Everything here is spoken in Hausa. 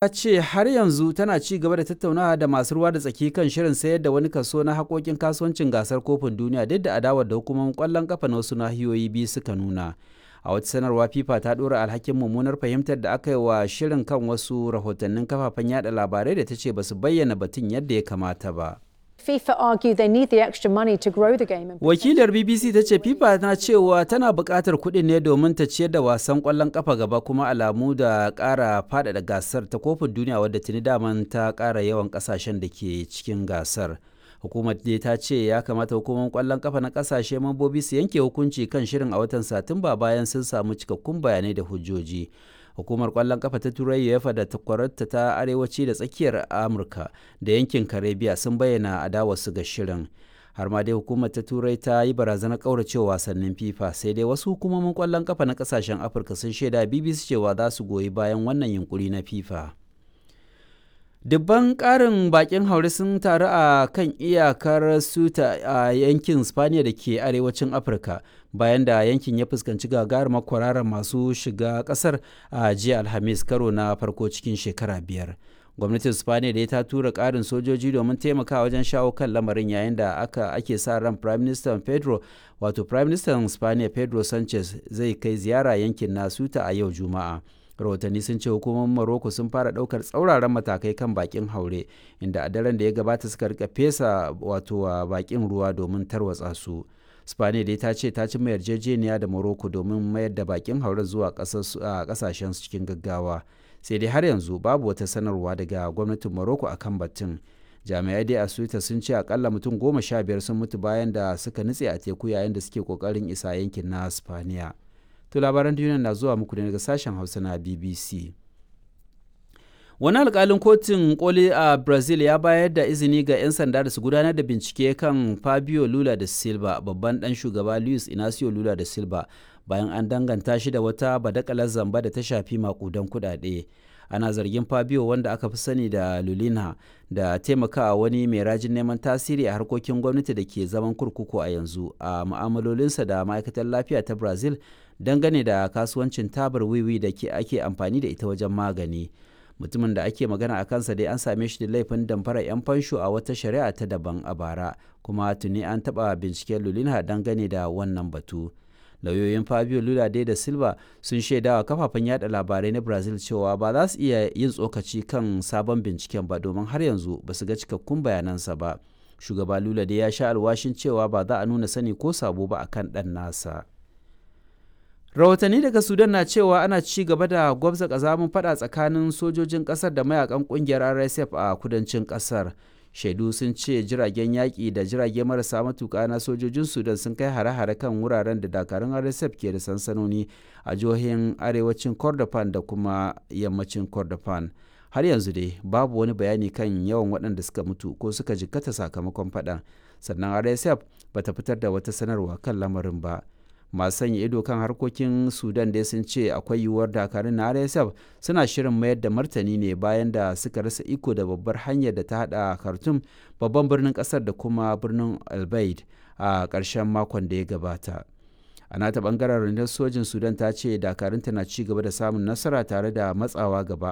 Ta ce har yanzu tana ci gaba da tattaunawa da masu ruwa da tsaki kan shirin sayar da wani kaso na haƙƙoƙin kasuwancin Gasar Kofin Duniya duk da adawar da hukumomin ƙwallon ƙafa na wasu nahiyoyi biyu suka nuna. A wata sanarwa, FIFA ta ɗora alhakin mummunar fahimtar da aka yi wa shirin kan wasu rahotannin kafafen yada labarai da ta ce ba su bayyana batun yadda ya kamata ba. FIFA argue they need the extra money to grow the game. And Wakilar BBC ta ce FIFA na cewa tana buƙatar kuɗin ne domin ta ciyar da wasan ƙwallon ƙafa gaba, kuma alamu da ƙara faɗaɗa gasar ta kofin duniya, wadda tuni daman ta ƙara yawan ƙasashen da ke cikin gasar. Hukumar dai ta ce ya kamata hukumar ƙwallon ƙafa na ƙasashe mambobi su yanke hukunci kan shirin a watan Satumba bayan sun samu cikakkun bayanai da hujjoji. Hukumar kwallon kafa ta Turai UEFA da takwararta ta arewaci da tsakiyar Amurka da yankin Karibiya sun bayyana adawarsu ga shirin. Har ma dai hukumar ta Turai ta yi barazanar kauracewa wasannin FIFA. Sai dai wasu hukumomin kwallon kafa na kasashen Afirka sun shaida BBC cewa za su goyi bayan wannan yunkuri na FIFA. Dubban ƙarin bakin haure sun taru a kan iyakar Ceuta a yankin Spaniya da ke arewacin Afirka, bayan da yankin ya fuskanci gagarumar kwararar masu shiga ƙasar a jiya Alhamis, karo na farko cikin shekara 5. Gwamnatin Spaniya da ta tura ƙarin sojoji domin taimakawa wajen shawo kan lamarin, yayin da aka ake sa ran Prime Minister Pedro, wato Prime Minister Spaniya Pedro Sanchez, zai kai ziyara yankin na Ceuta a yau Juma'a. Rahotanni sun ce hukumomin Morocco sun fara daukar tsauraran matakai kan bakin haure, inda a daren da ya gabata suka rika fesa wato wa bakin ruwa domin tarwatsa su. Spaniya dai ta ce ta ci mai yarjejeniya da Morocco domin mayar da bakin haure zuwa kasashen su cikin gaggawa. Sai dai har yanzu babu wata sanarwa daga gwamnatin Morocco akan batun. Jami'ai dai a Suita sun ce akalla mutum 15 sun mutu bayan da suka nutse a teku yayin da suke kokarin isa yankin na Spaniya. To, labaran duniya na zuwa muku ne daga sashen Hausa na BBC. Wani alkalin kotun koli a Brazil ya bayar da izini ga 'yan sanda da su gudanar da bincike kan Fabio Lula da Silva, babban dan shugaba Luis Inacio Lula da Silva, bayan an danganta shi da wata badakalar zamba da ta shafi makudan kudade. Ana zargin Fabio, wanda aka fi sani da Lulina, da taimakawa wani mai rajin neman tasiri a harkokin gwamnati da ke zaman kurkuku a yanzu a mu'amalolinsa da ma'aikatar lafiya ta Brazil dangane da kasuwancin tabar wiwi da ke ake amfani da ita wajen magani. Mutumin da ake magana a kansa dai an same shi da laifin damfara 'yan fansho a wata shari'a ta daban a bara, kuma tuni an taɓa binciken Lulina dangane da wannan batu. Lauyoyin Fabio Lula dai da Silva sun shaidawa kafafen yada labarai na Brazil cewa ba za su iya yin tsokaci kan sabon binciken ba domin har yanzu ba su ga cikakkun bayanansa ba. Shugaba Lula dai ya sha alwashin cewa ba za a nuna sani ko sabo ba akan ɗan nasa. Rahotanni daga Sudan na cewa ana ci gaba da gwabza kazamin fada tsakanin sojojin kasar da mayakan kungiyar RSF a kudancin kasar. Shaidu sun ce jiragen yaƙi da jirage marasa matuƙa na sojojin Sudan sun kai hare-hare kan wuraren da dakarun RSF ke da sansanoni a jihohin arewacin Kordofan da kuma yammacin Kordofan. Har yanzu dai babu wani bayani kan yawan waɗanda suka mutu ko suka jikkata sakamakon faɗan. Sannan RSF bata fitar da wata sanarwa kan lamarin ba. Masu sanya ido kan harkokin Sudan dai sun ce akwai yiwuwar dakarun na RSF suna shirin mayar da martani ne bayan da suka rasa iko da babbar hanyar da ta hada Khartoum, babban birnin kasar, da kuma birnin Albaid a ƙarshen makon da ya gabata. A nata bangaren, rundunar sojin Sudan ta ce dakarunta na ci gaba da samun nasara tare da matsawa gaba.